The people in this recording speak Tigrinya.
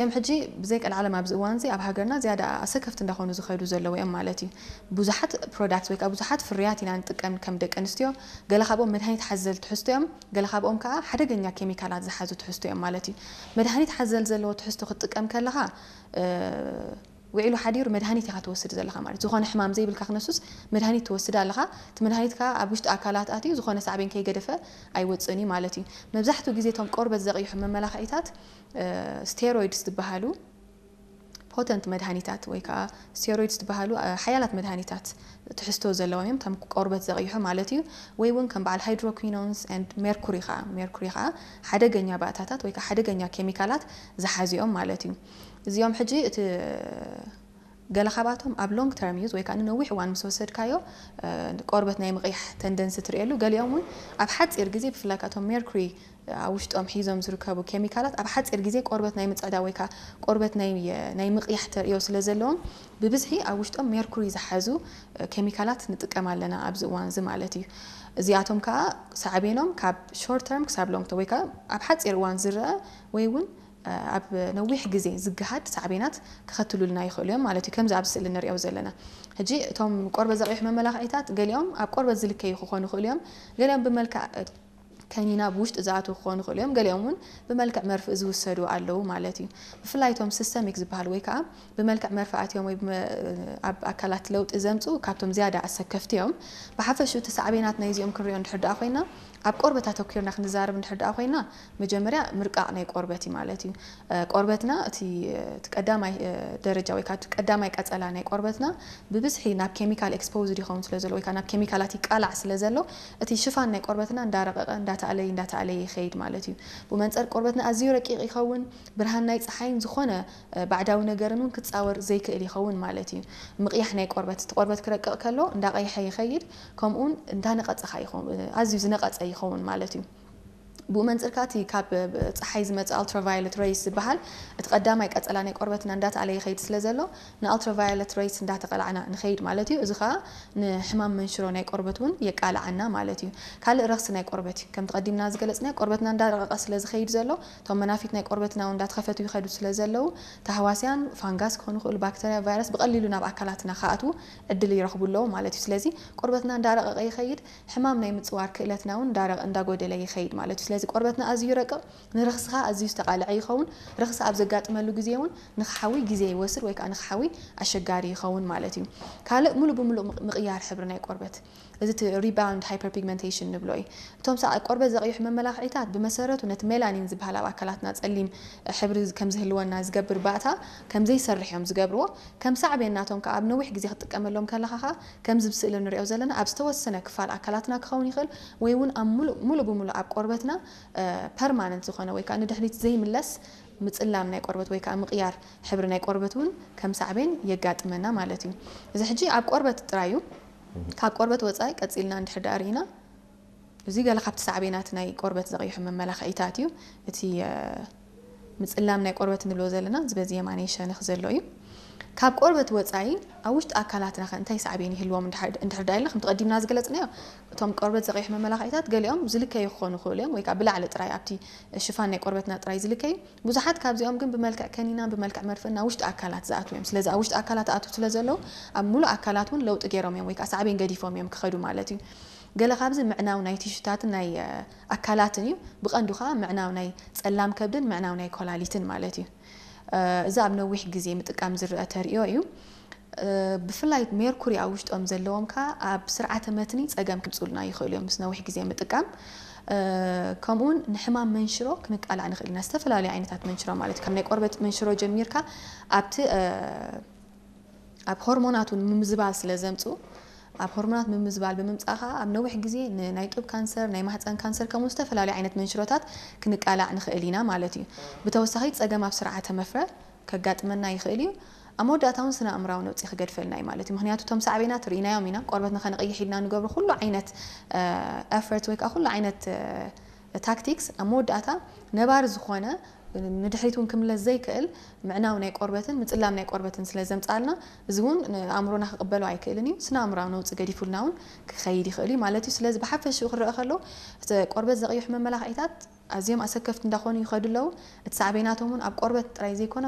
እዮም። ሕጂ ብዘይ ቀልዓለም ኣብዚ እዋን እዚ ኣብ ሃገርና ዝያዳ ኣሰከፍቲ እንዳኾኑ ዝኸዱ ዘለዉ እዮም ማለት እዩ። ብዙሓት ፕሮዳክት ወይ ከዓ ብዙሓት ፍርያት ኢና ንጥቀም ከም ደቂ ኣንስትዮ። ገለ ካብኦም መድሃኒት ሓዘል ትሕዝቶ እዮም፣ ገለ ካብኦም ከዓ ሓደገኛ ኬሚካላት ዝሓዙ ትሕዝቶ እዮም ማለት እዩ። መድሃኒት ሓዘል ዘለዎ ትሕዝቶ ክትጥቀም ከለኻ፣ እ፣ ውዒሉ ሓዲሩ መድሃኒት ኢኻ ትወስድ ዘለኻ ማለት እዩ። ዝኾነ ሕማም ዘይብልካ ክነሱስ መድሃኒት ትወስድ ኣለኻ። እቲ መድሃኒት ከዓ ኣብ ውሽጢ ኣካላት ኣትዩ ዝኾነ ሳዕቤን ከይገደፈ ኣይወፅእን እዩ ማለት እዩ። መብዛሕትኡ ግዜ እቶም ቆርበት ዘቕይሑ መመላኽዒታት፣ እ፣ ስቴሮይድስ ዝበሃሉ ፖተንት መድሃኒታት ወይ ከዓ ስቴሮይድስ ዝበሃሉ፣ እ፣ ሓያላት መድሃኒታት ትሕዝቶ ዘለዎም እዮም። ከም ቆርበት ዘቕይሑ ማለት እዩ። ወይ እውን ከም በዓል ሃይድሮኩዊኖንስ ኤንድ ሜርኩሪ ከዓ፣ ሜርኩሪ ከዓ ሓደገኛ ባእታታት ወይ ከዓ ሓደገኛ ኬሚካላት ዝሓዙ እዮም ማለት እዩ። እዚኦም ሕጂ እቲ ገለ ካብኣቶም ኣብ ሎንግ ተርም ዩዝ ወይ ከዓ ንነዊሕ እዋን ምስ ወሰድካዮ፣ እ፣ ቆርበት ናይ ምቕያሕ ተንደንሲ ትርእየሉ። ገሊኦም እውን ኣብ ሓፂር ግዜ፣ ብፍላይ ካቶም ሜርኩሪ ኣብ ውሽጦም ሒዞም ዝርከቡ ኬሚካላት ኣብ ሓፂር ግዜ ቆርበት ናይ ምፅዕዳ ወይ ከዓ ቆርበት ናይ፣ ናይ ምቕያሕ ተርእዮ ስለ ዘለዎም፣ ብብዝሒ ኣብ ውሽጦም ሜርኩሪ ዝሓዙ፣ እ፣ ኬሚካላት ንጥቀም ኣለና ኣብዚ እዋን እዚ ማለት እዩ። እዚኣቶም ከዓ ሳዕቤኖም ካብ ሾርት ተርም ክሳብ ሎንግ ተርም ወይ ከዓ ኣብ ሓፂር እዋን ዝረአ ወይ እውን፣ እ፣ ኣብ ነዊሕ ግዜ ዝገሃድ ሳዕቤናት ከኸትሉልና ይኽእሉ እዮም ማለት እዩ። ከምዚ ኣብ ስእሊ ንሪኦ ዘለና ሕጂ እቶም ቆርበት ዘቕይሑ መመላኽዒታት ገሊኦም ኣብ ቆርበት ዝልከዩ ክኾኑ ይኽእሉ እዮም። ገሊኦም ብመልክዕ፣ እ፣ ከኒና ብውሽጢ ዝኣትዉ ክኾኑ ይኽእሉ እዮም። ገሊኦም እውን ብመልክዕ መርፍእ ዝውሰዱ ኣለዉ ማለት እዩ። ብፍላይ እቶም ሲስተሚክ ዝበሃሉ ወይ ከዓ ብመልክዕ መርፍእ ኣትዮም ወይ ብመ-፣ ኣብ ኣካላት ለውጢ ዘምፅኡ ካብቶም ዝያዳ ኣሰከፍቲ እዮም። ብሓፈሽኡ እቲ ሳዕቤናት ናይዚኦም ክንሪኦ እንድሕር ደኣ ኮይና፣ ኣብ ቆርበት ኣተኲርና ክንዛረብ እንድሕር ደኣ ኮይና፣ መጀመርያ ምርቃቕ ናይ ቆርበት እዩ ማለት እዩ። እ፣ ቆርበትና እቲ፣ እቲ ቀዳማይ፣ እ፣ ደረጃ ወይ ከዓ እቲ ቀዳማይ ቀጸላ ናይ ቆርበትና ብብዝሒ ናብ ኬሚካል ኤክስፖዝድ ይኸውን ስለ ዘሎ ወይ ከዓ ናብ ኬሚካላት ይቃላዕ ስለ ዘሎ፣ እቲ ሽፋን ናይ ቆርበትና እንዳረቐቐ፣ እንዳተኣለየ፣ እንዳተኣለየ ይኸይድ ማለት እዩ። ብመንጸር ቆርበትና ኣዝዩ ረቂቕ ይኸውን። ብርሃን ናይ ጸሓይን ዝኾነ፣ እ፣ ባዕዳዊ ነገርን እውን ክጻወር ዘይክእል ይኸውን ማለት እዩ። ምቕያሕ ናይ ቆርበት፣ እቲ ቆርበት ክረቅቕ ከሎ እንዳቐይሐ ይኸይድ፣ ከምኡውን እንዳነቐጸ ኸዓ ይኸውን፣ ኣዝዩ ዝነቐጸ ይኸውን ማለት እዩ። ብኡ መንጽር ከኣ እቲ ካብ ጸሓይ ዝመጽእ ኣልትራቫዮለት ሬይስ ዝበሃል እቲ ቀዳማይ ቀጸላ ናይ ቆርበትና እንዳተኣለ ይኸይድ ስለ ዘሎ፣ ንኣልትራቫዮለት ሬይስ እንዳተቐላዕና ንኸይድ ማለት እዩ። እዚ ኸኣ ንሕማም መንሽሮ ናይ ቆርበት እውን የቃልዓና ማለት እዩ። ካልእ ረኽሲ ናይ ቆርበት እዩ። ከምቲ ቀዲምና ዝገለጽናዮ፣ ቆርበትና እንዳረቐቐ ስለ ዝኸይድ ዘሎ፣ እቶም መናፊት ናይ ቆርበትና እውን እንዳተኸፈቱ ይኸዱ ስለ ዘለዉ፣ ተህዋስያን፣ ፋንጋስ ክኾኑ ይኽእሉ፣ ባክተርያ፣ ቫይረስ ብቐሊሉ ናብ ኣካላትና ክኣትዉ ዕድል ይረኽቡ ኣለዉ ማለት እዩ። ስለዚ ቆርበትና እንዳረቐቐ ይኸይድ፣ ሕማም ናይ ምጽዋር ክእለትና እውን እንዳረቐ፣ እንዳጎደለ ይኸይድ ማለት እዩ። ስለዚ ቆርበትና ኣዝዩ ይረቅቕ፣ ንረኽሲ ኸኣ ኣዝዩ ዝተቓልዐ ይኸውን። ረኽሲ ኣብ ዘጋጥመሉ ግዜ እውን ንኽሓዊ ግዜ ይወስድ ወይ ከዓ ንኽሓዊ ኣሸጋሪ ይኸውን ማለት እዩ። ካልእ ሙሉእ ብምሉእ ምቕ-፣ ምቕያር ሕብሪ ናይ ቆርበት፣ እዚ እቲ ሪባውንድ ሃይፐርፒግመንቴሽን ንብሎ እዩ። እቶም ሰ-፣ ቆርበት ዘቕይሑ መመላኽዒታት ብመሰረቱ ነቲ ሜላኒን ዝበሃል ኣብ ኣካላትና ጸሊም ሕብሪ ከም ዝህልወና ዝገብር ባእታ ከም ዘይሰርሕ እዮም ዝገብርዎ። ከም ሳዕቤን ናቶም ከኣ ኣብ ነዊሕ ግዜ ክትጥቀመሎም ከለኻ ኸኣ ከምዚ ኣብ ስእሊ ንሪኦ ዘለና ኣብ ዝተወሰነ ክፋል ኣካላትና ክኸውን ይኽእል ወይ እውን ኣብ ሙሉእ፣ ሙሉእ ብምሉእ ኣብ ቆርበትና፣ እ፣ ፐርማነንት ዝኾነ ወይ ከዓ ንድሕሪት ዘይምለስ ምጽላም ናይ ቆርበት ወይ ከዓ ምቕያር ሕብሪ ናይ ቆርበት እውን ከም ሳዕቤን የጋጥመና ማለት እዩ። እዚ ሕጂ ኣብ ቆርበት ጥራይ እዩ። ካብ ቆርበት ወጻኢ ቀጺልና እንድሕር ደኣ ርኢና፣ እዚ ገለ ካብቲ ሳዕቤናት ናይ ቆርበት ዘቕይሑ መመላኽዒታት እዩ። እቲ፣ እ፣ ምጽላም ናይ ቆርበት ንብሎ ዘለና እዚ በዚ የማነይ ሸነኽ ዘሎ እዩ። ካብ ቆርበት ወጻኢ ኣብ ውሽጢ ኣካላትና ከ እንታይ ሳዕቤን ይህልዎም እንድሕር፣ እንድሕር ደኣ ኢልና፣ ከምቲ ቀዲምና ዝገለጽናዮ፣ እቶም ቆርበት ዘቕይሑ መመላኽዒታት ገሊኦም ዝልከዩ ክኾኑ ይኽእሉ እዮም፣ ወይ ከዓ ብላዕሊ ጥራይ ኣብቲ ሽፋን ናይ ቆርበትና ጥራይ ዝልከዩ። ብዙሓት ካብዚኦም ግን ብመልክዕ ከኒናን ብመልክዕ መርፍእን ናብ ውሽጢ ኣካላት ዝኣትዉ እዮም። ስለዚ ኣብ ውሽጢ ኣካላት ኣትዉ ስለ ዘለዉ ኣብ ሙሉእ ኣካላት እውን ለውጢ ገይሮም እዮም ወይ ከዓ ሳዕቤን ገዲፎም እዮም ክኸዱ ማለት እዩ። ገለ ካብዚ ምዕናው ናይ ቲሹታትን ናይ፣ እ፣ ኣካላትን እዩ። ብቐንዱ ከዓ ምዕናው ናይ ጸላም ከብድን ምዕናው ናይ ኮላሊትን ማለት እዩ። እ፣ እዚ ኣብ ነዊሕ ግዜ ምጥቃም ዝረአ ተርእዮ እዩ። እ፣ ብፍላይ ሜርኩሪ ኣብ ውሽጦም ዘለዎም ከዓ ኣብ ስርዓተ መትኒ ጸገም ከምጽኡልና ይኽእሉ እዮም ምስ ነዊሕ ግዜ ምጥቃም። እ፣ ከምኡውን ንሕማም መንሽሮ ክንቃላዕ ንኽእል ኢና። ዝተፈላለዩ ዓይነታት መንሽሮ ማለት እዩ። ካብ ናይ ቆርበት መንሽሮ ጀሚርካ ኣብቲ፣ እ፣ ኣብ ሆርሞናት እውን ምምዝባል ስለ ዘምጽኡ፣ ኣብ ሆርሞናት ምምዝባል ብምምጻእ ኸኣ ኣብ ነዊሕ ግዜ ንናይ ጡብ ካንሰር፣ ናይ ማህጸን ካንሰር፣ ከምኡ ዝተፈላለዩ ዓይነት መንሽሮታት ክንቃላዕ ንኽእል ኢና ማለት እዩ። ብተወሳኺ ጸገም ኣብ ስርዓተ መፍረ ከጋጥመና ይኽእል እዩ። ኣብ መወዳእታ እውን ስነ ኣእምራዊ ነውጺ ክገድፈልና እዩ ማለት እዩ። ምኽንያቱ እቶም ሳዕቤናት ርኢናዮም ኢና። ቆርበትና ከነቕይሕ ኢልና ንገብሮ ኩሉ ዓይነት፣ እ፣ ኤፈርት ወይ ከዓ ኩሉ ዓይነት፣ እ፣ ታክቲክስ ኣብ መወዳእታ ነባሪ ዝኾነ ንድሕሪት እውን ክምለስ ዘይክእል ምዕናው ናይ ቆርበትን ምጽላም ናይ ቆርበትን ስለ ዘምጻልና፣ እዚ እውን ንኣእምሮና ክቕበሎ ኣይክእልን እዩ። ስነ ኣእምራዊ ነውጺ ገዲፉልና እውን ክኸይድ ይኽእል እዩ ማለት እዩ። ስለዚ ብሓፈሽኡ ክረአ ከሎ፣ እቲ ቆርበት ዘቕይሑ መመላኽዒታት ኣዝዮም ኣሰከፍቲ እንዳኾኑ ይኸዱ ኣለዉ። እቲ ሳዕቤናቶም እውን ኣብ ቆርበት ጥራይ ዘይኮነ፣